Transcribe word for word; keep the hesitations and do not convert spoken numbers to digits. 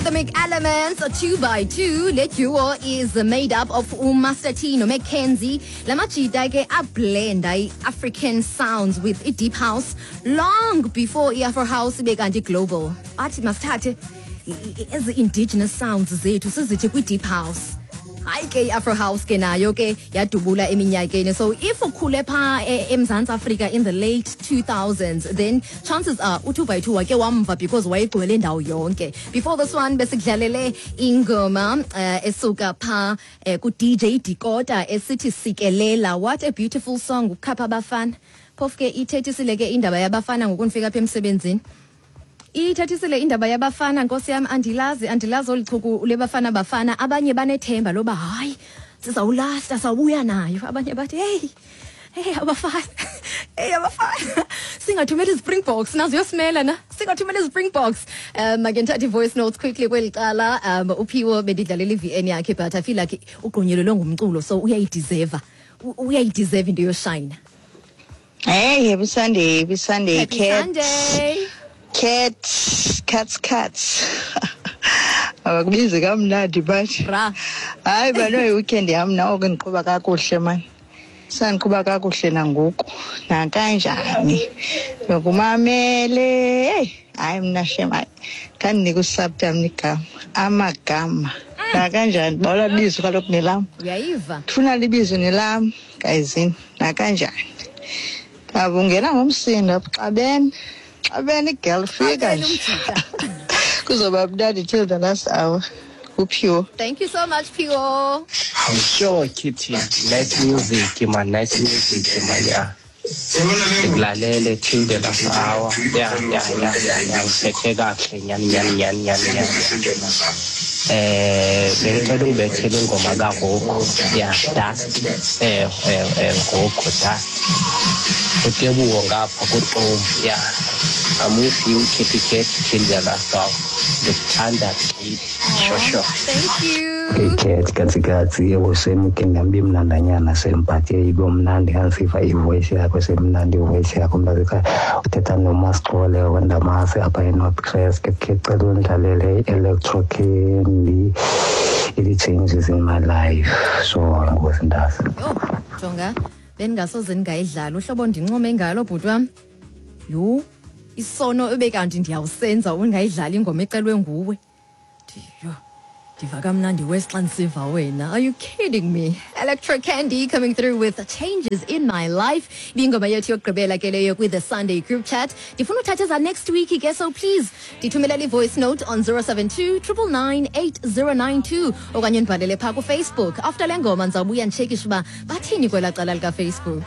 Rhythmic Elements, two by two. Le duo is made up of uMaster T noMcKenzie. La majita ke ablenda i-African sounds with i-deep house long before i-Afro house ibe kanti global. Athi masithathe ezi indigenous sounds zethu sizithi kwi-deep house. Hayi ke, i-Afro house ke nayo ke yadubula eminyakeni. So if ukhule phaa eMzantsi Afrika in the late two thousands, then chances are u-two by two wake wamva because wayegcwele indawo yonke. Before this one besikudlalele ingoma uh, esuka phaa uh, ku-D J Dakota esithi "Sikelela". What a beautiful song, ukhapha abafana. Phofu ke ithethisile ke indaba yabafana ngokunifika apha emsebenzini, ithethisile indaba yabafana. Nkosi yam, andilazi andilazi olu chuku lebafana. Bafana abanye banethemba loba hayi, sizawulasta, sawubuya nayo. Abanye bathi, "Hey, hey, abafana, hey, abafana, singathumela izi-Springboks nazo yosimela na, singathumela izi-Springboks." um ake ndithathe i-voice notes quickly kweli cala. um uphiwo bendidlalela i-V N yakhe, but I feel like ugqunyelelwe ngumculo, so uyayideserva, uyayideserva into yoshayina. Hey, happy Sunday, happy Sunday, Happy cat. Sunday. Cats, cats, cats. Abakubizi kamnandi bathi. Bra. Hayi bano, i-weekend yam nawo ke ndiqhuba kakuhle man. Sandiqhuba kakuhle nangoku. Nakanjani? Bekumamele. Hey, hayi mna shem, hayi. Khandinika usaptam igama. Amagama. Nakanjani? Bawula bizo kaloku nelam. Uyayiva. Ndifuna libizo nelam, gayizini. Nakanjani? Ungena ngomsindo apha, xabene. Xabene igirl fika Xabene nje. Umjita. Kuzoba mnandi till the last hour. Uphiwo. Thank you so much, Phiwo. I'm sure, Kitty. Nice music, man. Nice music, man. Yeah. Ngikulalele till the last hour. Yeah, yeah, yeah, yeah, yeah. Uphethe kahle nyani nyani nyani nyani nyani. Eh, bengicela ungibethele ingoma kaRocco. Yeah, "Dust". Eh, eh, eh, Rocco, "Dust". Utebuwo ngapha kuTom. Yeah. I'm with you, Kitty Cat, till the last hour. Ndikuthanda gqithi. Sure, sure. Thank you. Cat, katsi katsi, yebo, semke ndambi mnandanyana sempathe ibe mnandi kansiva ivoice yakho, semnandi ivoice yakho mntasekhaya. Uthetha noMasixole wandamasi apha eNorth Crest. Ke ke cela undlalele i-Electro Candy, ili-"Changes in My Life". So ngosi ntasi. Yho, jonga, bendingasoze ndingayidlala uhlobo ndincome ngalo, bhuti wam. Yho, isono ebekanti ndiyawusenza ungayidlali ingoma ecelwe nguwe. Yho, ndiva kamnandi wes xa ndisiva wena. Are you kidding me? Electro Candy coming through with "Changes in My Life". Ibingoma yethu yokugqibela ke leyo kwi-The Sunday Group Chat. Ndifuna uthatha eza next week ke, so please ndithumelele i-voice note on zero seven two nine nine nine eight zero nine two okanye ndibhalele phaa kuFacebook. After le ngoma ndizawubuya nditshekishe uba bathini kwelaa cala likaFacebook.